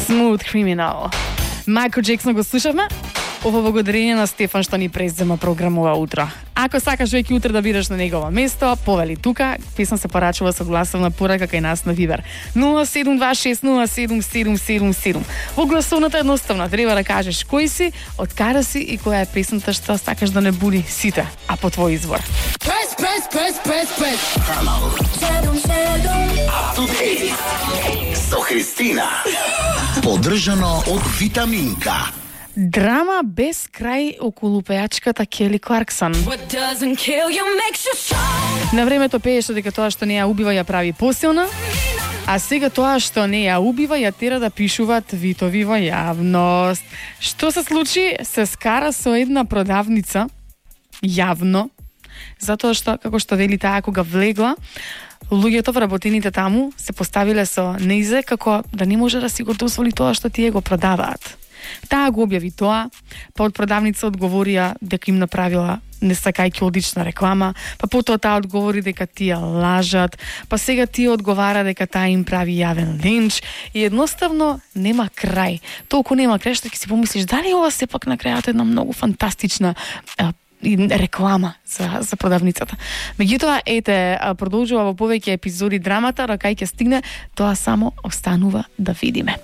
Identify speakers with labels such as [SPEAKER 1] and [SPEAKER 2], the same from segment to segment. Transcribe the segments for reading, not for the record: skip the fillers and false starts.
[SPEAKER 1] Smooth Criminal. Майкл Джексон го слушавме. Ова благодарение на Стефан што ни презема програмова утро. Ако сакаш веќе утре да бидеш на негово место, повели тука. Песна се порачува со гласовна порака кај нас на Вибер. 072607777. Во гласовната едноставно треба да кажеш кој си, од каде си и која е песната што сакаш да не буди сите, а по твој избор.
[SPEAKER 2] Press. Со Христина. Поддржано од Витаминка.
[SPEAKER 1] Драма без крај околу пејачката Кели Кларксон. На времето пееше дека тоа што не ја убива ја прави посилна, а сега тоа што не ја убива ја тера да пишуваат витови во јавност. Што се случи? Се скара со една продавница јавно, затоа што, како што вели таа, кога влегла, луѓето вработените таму се поставиле со неизе како да не може да си го дозволи тоа што тие го продаваат. Таа го објави тоа, па од продавница одговорија дека им направила несакајќи одлична реклама, па потоа таа одговори дека тие лажат, па сега тие одговара дека таа им прави јавен линч и едноставно нема крај. Толку нема крај што ќе си помислиш дали ова сепак на крајот една многу фантастична реклама за продавницата. Меѓутоа, ете, продолжува во повеќе епизоди драмата, а кај ќе стигне, тоа само останува да видиме.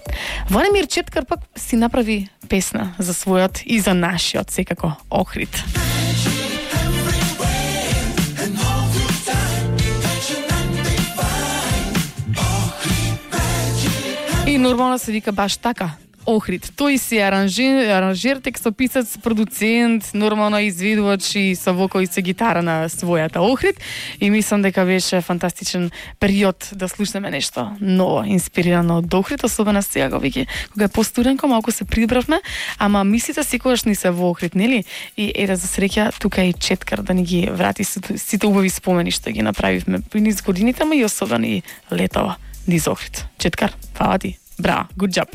[SPEAKER 1] Владимир Четкар пак си направи песна за својот и за нашиот, секако, Охрид. И нормално се вика баш така. Охрид. Тој си аранжер, текстописец, продуцент, нормално изведувач и со вокал и со гитара на својата Охрид. И мислам дека беше фантастичен период да слушнеме нешто ново, инспирирано од Охрид, особено сега веќе кога е постуденко, малку се прибравме, ама мислите секогаш ни се во Охрид, нели? И еда за среќа тука и Четкар да ни ги врати сите убави спомени што ги направивме низ годините, ама и особено и летова низ Охрид. Четкар, фала ти. Браво, good job.